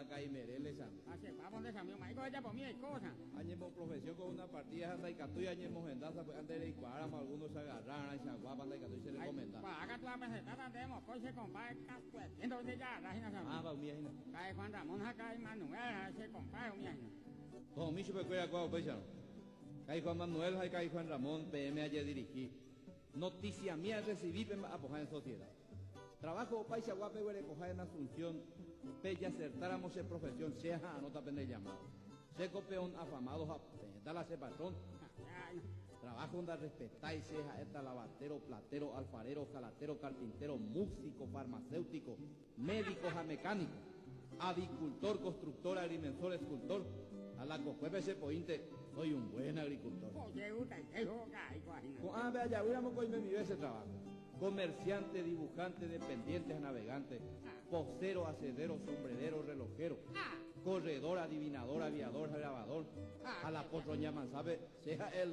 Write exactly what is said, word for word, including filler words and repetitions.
Caimereles. Añemo profesión con una partida ndaikatúi añemohenda pues antes de reikuaáramo algunos agarraran chaguapa ndaikatúi se recomendar. Ah, va umi hína. Juan Ramón ha Manuel che compadre umi hína. Tohomi chupekuéra kóva upéicharõ. Ka'i Juan Manuel ha ka'i Juan Ramón peẽme ajedirigi. Noticia mía recibí pe mba'apoha en sociedad. Trabajo opaichagua peguerekoha en Asunción pejasertáramo che profesión che aha'arõta pende llamado. Chéko peón afamado ha peẽta la che patrón. Trabajo ndarrespetái che ha'éta lavadero, platero, alfarero, jalatero, carpintero, músico, farmacéutico, médico ha mecánico, avicultor, constructor, agrimensor, escultor. A la kokuépe che poínte soy un buen agricultor. Ko'ã ajavýramo koimemive ese trabajo. Comerciante, dibujante, dependiente ha navegante, pocero, acedero, sombrerero, relojero, corredor, adivinador, aviador, grabador, a la potroña mansabe, sea el